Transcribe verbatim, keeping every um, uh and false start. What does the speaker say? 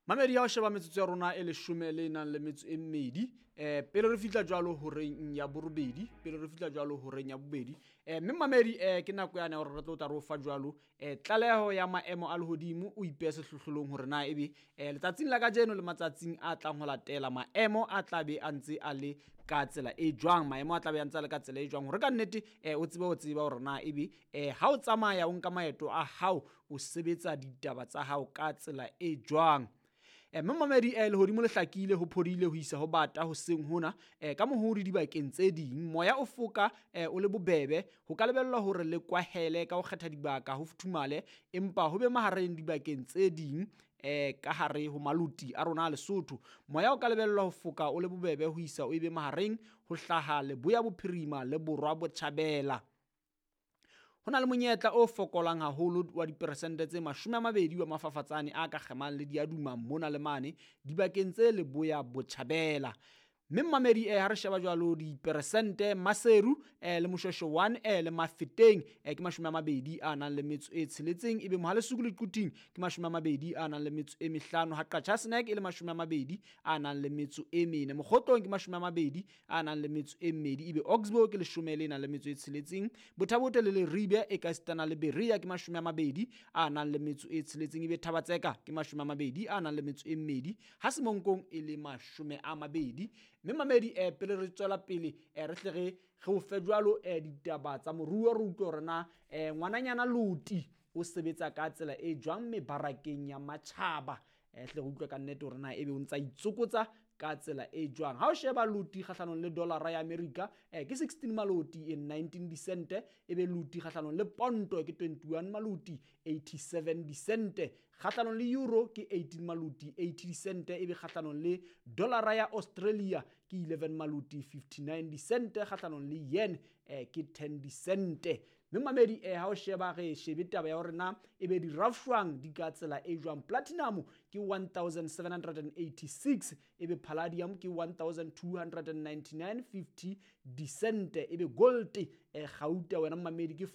Mamedi, ha o sheba metsotso ya rona e leshome le nang le metso e mmedi um pele re fihla jwalo horeng ya borobedi, pele re fihla jwalo horeng ya bobedi, um mme mamedi, um ke nako yane ya hore re tlo tla re o fa jwalo um tlaleho ya maemo a lehodimo. O ipehe sehlohlolong hore na ebe um letsatsing la kajeno le matsatsing a tlang ho latela maemo a tla be a ntse a le ka tsela e jwang, maemo a tla be a ntse a le ka tsela e jwang, hore ka nnete um o tsebe ho tseba hore na ebe um ha o tsamaya o nka maeto a hao, o sebetsa ditaba tsa hao ka tsela e jwang. Mme mamedi, eh, lehodimo le hlakile, ho phodile ho isa ho bata hoseng hona eh, ka mohodi dibakeng tse ding. Moya o foka eh, o le bobebe, ho ka lebellwa hore le kwahele ka ho kgetha dibaka, ho futhumale empa ho be mahareng dibakeng tse ding eh, ka hare ho maloti a rona a Lesotho. Moya o ka lebellwa ho foka o le bobebe ho isa o ebe mahareng ho hlaha leboya bophirima le borwa botjhabela. Ho na le monyetla o fokolang haholo wa diperesente tse mashome a mabedi wa mafafatsane a ka kgemang le diaduma mona le mane dibakeng tse leboya botjhabela. Mme mmamedi, eh, ha re sheba jwalo diperesente, Maseru eh, le Moshweshwe one eh, le Mafeteng eh, ke mashome a mabedi a nang le metso e tsheletseng, ebe Mohalesuku le Quthing ke mashome a mabedi a nang le metso e mehlano, ha Qachaseneke e le mashome a mabedi a nang le metso e mene, Mokgotlong ke mashome a mabedi a nang le metso e mmedi, ebe Oxbow ke leshome le nang le metso e tsheletseng, Bothabote le Leribe e ka sitana le Berea ke mashome a mabedi a nang le metso e tsheletseng, ebe Thabatseka ke mashome a mabedi a nang le metso e mmedi, ha Semonkong e le mashome a mabedi. Mme mamedi, eh, pele re tswela pele, eh, re hle re re o fe jwalo eh, ditaba tsa moruo, re utlwe hore na eh, ngwananyana Loti o sebetsa ka tsela e jwang mebarakeng ya matjhaba. Eh, hle re utlwe ka nnete hore na ebe o ntsa itsokotsa ka tsela e jwang. Ha o sheba Loti kgahlanong le dollara ya America eh, ke sixteen maloti e nineteen disente, ebe Loti kgahlanong le ponto ke twenty-one maloti eighty-seven disente, kgahlanong le euro ke eighteen maloti eighty disente, ebe kgahlanong le dollara ya Australia ke eleven maloti fifty-nine disente, kgahlanong le yen eh, ke ten disente. Mme mamedi, eh, ha o sheba re shebe taba ya hore na ebe dirafshwang di ka tsela e jwang. Platinum ke one thousand seven hundred and eighty-six, ebe palladium ke one thousand two hundred and ninety-nine fifty disente, ebe gold eh, gauta wena mamedi ke